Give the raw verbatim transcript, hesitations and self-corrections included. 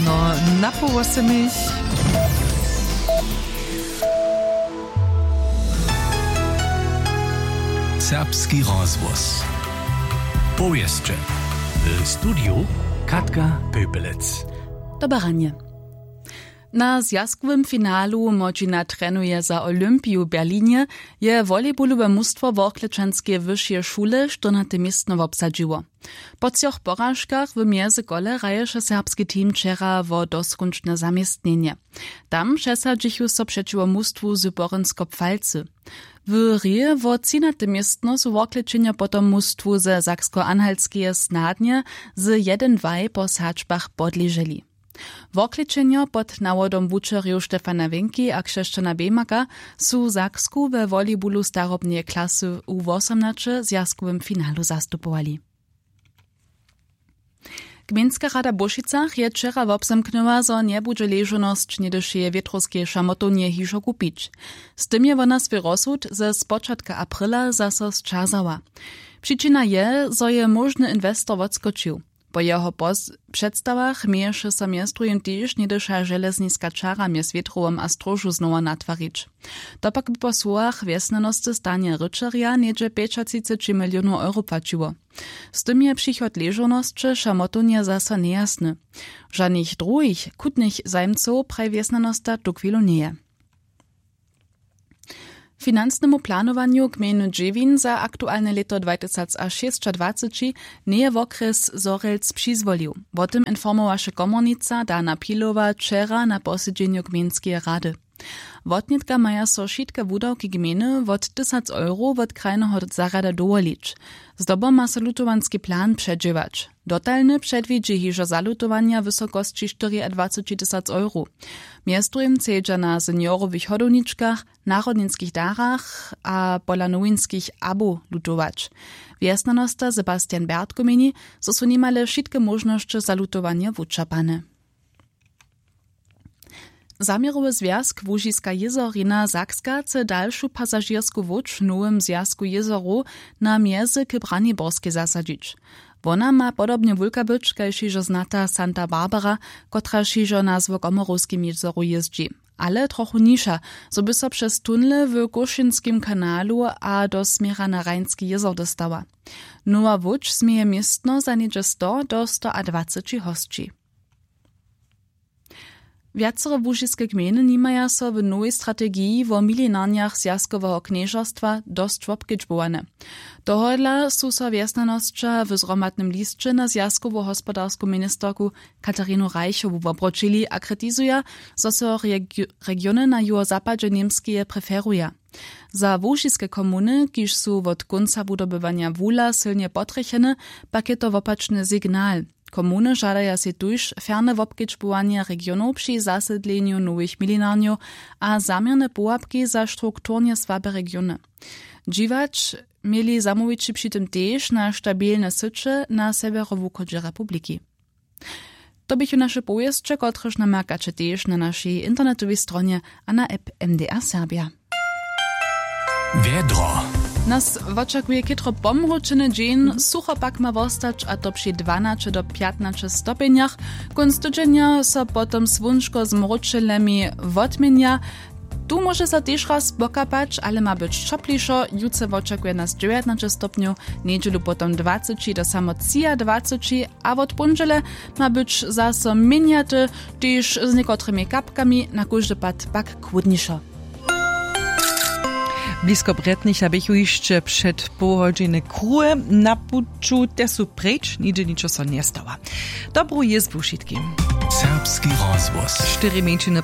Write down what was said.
No, na poł wosomich. Serbski rozhłos. Powěsće. W studiju Katka Pepelec. Dobre ranje. Na zwjazkowym finalu młodźina trenuje za Olympiju w Berlinje, je volejbolowe mustwo Worklečanskeje wyšeje šule štyrnate městno wobsadźiło. Po třoch poražkach w mjezykole hraješe serbski team wčera wo doskónčne zaměstnjenje. Tam přesadźichu so přećiwo mustwu z Porynskopfalcy. W hri wo třinate městno su Worklečenjo potom mustwu ze Sakskoanhaltskeje snadnje z jedyn dwaj po sadźbach podleželi. Worklečenjo pod nawodom wučerjow Stefana Wenki a Křesćana Bemaka su Saksku we volejbolu starobneje klasy U wosomnaće w zwjazkowym finalu zastupowali. Gmejnska rada w Bóšicach je wčera wobzamknyła, zo njebudźe ležownosć něhdyšeje wětrowskeje šamotownje hižo kupić. Z tym je wona swój rozsud ze spočatka aprila zaso sćazała. Přičina je, zo je móžny inwestor wotskočił. Po jeho pos-, předstawach měješe so mjez druhim tež něhdyša železniska čara mjez wětrowom a stróžu znowa natwarić. To pak by po słowach wjesnjanosty Stanja Ryćerja něhdźe pjećatřiceći milionow euro płaćiło. Z tym je přichod ležownosće šamotownje zaso njejasny. Žanych druhich chutnych zajimcow, praji wjesnjanosta, tuchwilu njeje. Financnemu planowanju gmejny Dźěwin za aktualne lěto dwatysacšěsćadwaceći njeje wokrjes Zhorjelc přizwolił. Wo tym informowaše komornica Dana Pilowa wčera na posedźenju gmejnskeje rady. Wotnětka maja so wšitke wudawki gmejny wot tysac euro wot krajneho zarjada dowolić. Zdobom ma so lutowanski plan předźěłać. Dotalny předwidźi hižo zalutowanja w wysokosći štyriadwaceći tysac euro. Mjez druhim chcedźa na seniorowych hodowničkach, narodninskich darach a pola nowinskich abow lutować. Wjesnjanosta Sebastian Bertko měni, zo su nimale wšitke móžnosće zalutowanja wučerpane. Zaměrowy zwjazk Łužiska jězorina Sakska chce dalšu pasažěrsku łódź w nowym zwjazku jězorow na mjezy k Braniborskej zasadźić. Wona ma podobnje wulka być kaž hižo znata Santa Barbara, kotraž hižo na złokomorowskim jězoru jězdźi, ale trochu nižša, zo by so přez tunle w Kóšinskim kanalu a do směra na Rajnski jězor dóstała. Nowa łódź změje městno za něhdźe sto do stoadwaceći hosći. Wjacore łužiske gmejny nimaja so w nowej strategiji wo milinarnjach zwjazkoweho knježerstwa dosć wobkedźbowane. Tohodla su so wjesnjanosća w zhromadnym lisće na zwjazkowu hospodarsku ministerku Katarinu Reichowu wobroćili a kritizuja, zo so regi-, regiony na juhozapadźe Němskeje preferuja. Za łužiske komuny, kiž su wot kónca wudobywanja wula sylnje potrjecheny, pak je to wopačny signal. Komuny žadaja sej tuž ferne wobkedźbowanje regionow při zasydlenju nowych milinarnjow a zaměrne połapki za strukturne słabe regiony. Dźiwać měli zamołwići při tym tež na stabilne syće na sewjerowuchodźe republiki. To běchu naše powěsće, kotrež namerkaće tež na našej internetowej stronje a na app M D R Serbia. Wjedro. Nas wočakuje chětro pomróčeny dźeń, sucho pak ma wostać, a to při dwanaće do pjatnaće stopjenjach. Kónc tydźenja so potom słónčko z mróčelemi wotměnja. Tu móže so tež raz pokapać, ale ma być ćoplišo. Jutře wočakuje nas dźewjatnaće stopnjow, njedźelu potom dwaceći do samo třiadwaceći, a wot póndźele ma być zaso měnjaty, tež z někotrymi kapkami, na kóždy pad pak chłódnišo. Blisko Brjetnicha běchu hišće před połhodźiny kruhe na puću, te su preč, nihdźe ničo so njestała. Dobru jězbu wšitkim. Serbski rozhłos. Štyri mjeńšiny